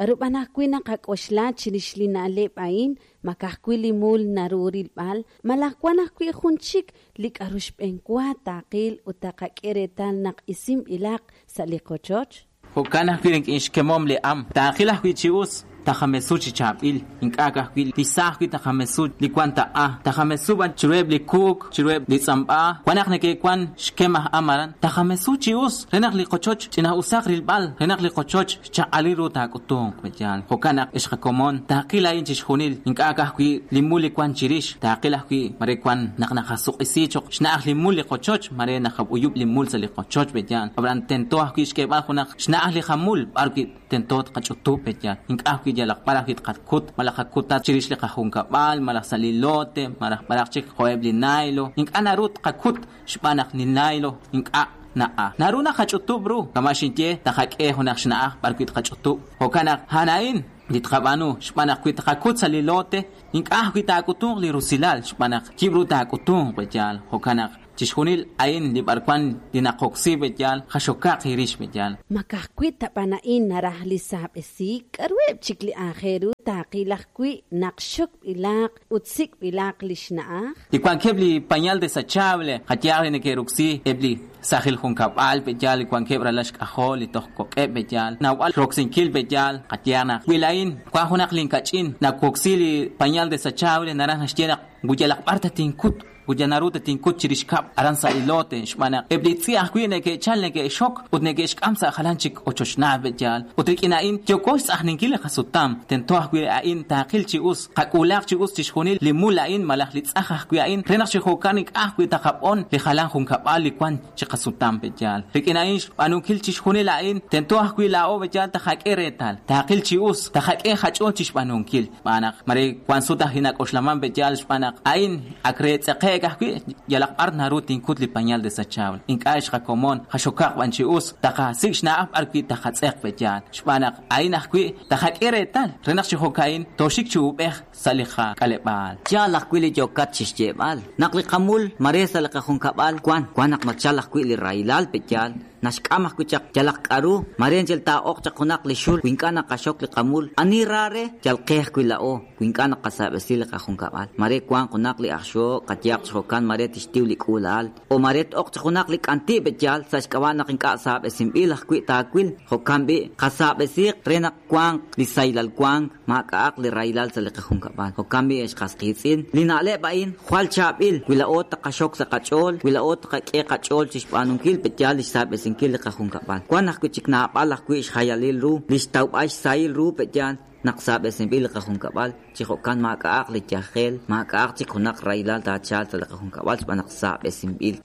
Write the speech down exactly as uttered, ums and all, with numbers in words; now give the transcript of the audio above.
K'aru b'an ajwi' naqak'oxla chirix li na'leb' a'in? Ma ka'ajwi' li mul naru rilb'al, malaj wan ajwi' jun chik li k'aru xb'enwa taaqil ut taqak'e reetal naq isinb'ilaq sa' li qochoch? Jo'kan ajwi' rik'in xkemom li am, taaqil ajwi' chi us, taqamesu chi chaab'il, ink'a' ka'ajwi' li sa ajwi' taqamesu li wan taq'a, taqamesu b'an chiruheb' li kuuk, chiruheb' li tz'amb'a, wan naq neke'wan xkem aj am aran, taqamesu chi us, re naq li qochoch ch'ina'usaq rilb'al, re naq li qochoch xchaq'alil ru taak'utunq, pe'yaal. Jo'kan naq ex qakomon, taaqil a'in chixjunil, ink'a' ka'ajwi' li mul li wan chirix, taaqil ajwi' mare wan naq naqasuq'isi choq xna'aj li mul li qochoch, mare naqab'uyub' li mul sa' li qochoch, pe'yaal. Ab'an tento ajwi' xk'eeb'al junaq xna'aj li jamul, b'ar wi' tento tqach'utub', pe'yaal. Ink'a' ajwi' yalaq b'ar ajwi' tqakut, malaj qakutat chirix li qajunkab'al, malaj sa' li lote, malaj b'araq chik jo'eb' li nailo. Ink'a' naru tqakut xb'aan naq li nailo ink'a' na'a. Naru naqach'utub' ru, kama' xinye taqak'e junaq xna'aj b'ar wi' tqach'utub'. Jo'kan naq a'an a'in li tqab'aanu, xb'aan naq wi tqakut sa' li lote, ink'a' ajwi' taak'utunq li rusilal, xb'aan naq yib' ru taak'utunq, pe'yaal. Jo'kan naq chixjunil a'in li b'arwan li naqoksi, pe'yaal, qaxokaq irix, pe'yaal. Ma ka'ajwi' ta b'an a'in naraj li saab'esiik? K'aruheb' chik li aajel ru taaqil ajwi' naq xokb'ilaq ut sik'b'ilaq li xna'aj? Li wankeb' li pañal desechable, qayehaq li neke'roksi eb' li sajil junkab'al, pe'yaal, li wankeb' ralal xk'ajol, li toj kok'eb', pe'yaal. Nawb'al roksinkil, pe'yaal, qayehaq naq wi la'in wan junaq linkach'in nawoksi li pañal desechable, naraj naxye naq yalaq b'ar tatinkut, ut naru tatinkut chirix kab' aran sa' li lote, xb'aan naq eb' li tz'i ajwi' neke'chal neke'xok ut neke'xk'am sa' jalan chik ochochnaal, pe'yaal. Ut rik'in a'in yooko xtz'ajninkil li qasutam, tento ajwi' a'in taaqil chi us, qak'uulaq chi us chixjunil li mul a'in malaj li tz'aj ajwi' a'in, re naq chi jo'kan ink'a' ajwi' taqab'on li jalan junkab'al li wan chi qasutam, pe'yaal. Rik'in a'in xb'aanunkil chixjunil a'in, tento ajwi' laa'o, pe'yaal, taqak'e reetal, taaqil chi us, taqak'e qach'ool chixb'aanunkil. Xb'aan naq mare wan sut ajwi' nak'oxlaman, pe'yaal, xb'aan naq a'in ak re tz'eqe'k ajwi' yalaq b'ar naru tinkut li pañal desechable. Ink'a' xqakomon, qaxokaq b'an chi us, taqasik' xna'aj b'ar wi' taqatz'eq, pe'yaal. Xb'aan naq a'in ajwi' taqak'e reetal, re naq chi jo'ka'in tooxik chi ub'ej sa' li qak'aleb'aal. Yaal ajwi' li yokat chixyeeb'al. Naq li qamul mare sa' li qajunkab'al wan, wan naq nachal ajwi' li rahilal, pe'yaal. Naxk'am ajwi' chaq yalaq k'aru, mare anchal taa'oq chaq junaq li xul, wi ink'a' naqaxok li qamul. Ani ra re, yal qe ajwi' la'o, wi ink'a' naqasab'esi li qajunkab'al. Mare wanq junaq li aj xok, qayehaq chi jo'kan mare tixtiw li k'uula'al. O mare t'oq chaq junaq li k'anti', pe'yaal, sa' xk'ab'a' naq ink'a' saab'esinb'il ajwi' taawil. Jo'kan b'i' qasaab'esiq re naq wanq li saylal wank, maak'a'aq li rahilal sa' li qajunkab'al. Jo'kan b'i' ex qasqiitz'in, li na'leb' a'in jwal chaab'il, wi la'o taqaxok sa' qach'ool, wi la'o taqak'e qach'ool chixb'aanunkil, pe'yaal, li xsaab'esinkil li qajunkab'al. Wan ajwi' chik naab'al ajwi' xjayalil ru, li xtawb'al xsahil ru, pe'yaal, naq saab'esinb'il li qajunkab'al, chi jo'kan maak'a'aq li yajel, maak'a'aq chik junaq rahilal taachal sa' li qajunkab'al xb'aan naq saab'esinb'il.